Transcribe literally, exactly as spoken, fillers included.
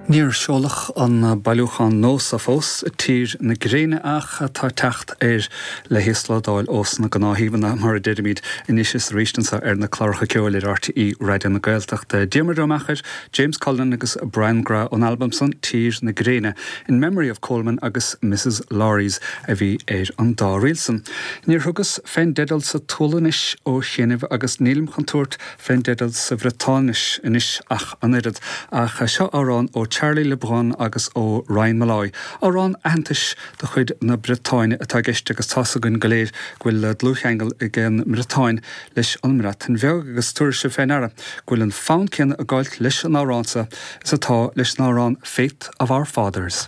Níor seoladh an bailiúchán nua fós Tír na Gréine ach tá teacht air le híoslódáil ós na gnáthshuíomhanna mar a deirimid anois is arís anseo ar na cláracha ceoil ar RTÉ Raidió na Gaeltachta. Diarmuid Ó Meachair, James Cullen agus Brian McGrath ón albam san Tír na Gréine in memory of Coleman agus Mrs. Lauries a bhí ar an dá ríl san. Níor thugas fén dteideal sa tSualainnis ó chianaibh agus nílim chun tabhairt fén dteideal sa Bhriotáinis anois ach an oiread ach seo amhrán ó Charlie Lebrun agus ó Ryan Molloy. Amhrán aitheantais de chuid na Briotáine atá i gceist agus tá a fhios againn go léir go bhfuil dlúthcheangal ag an mBriotáin leis an mBreatain Bheag agus tabharfaidh sibh fé ndeara go bhfuil an fonn céanna ag gabháil leis an amhrán seo is atá leis an amhrán Faith of Our Fathers.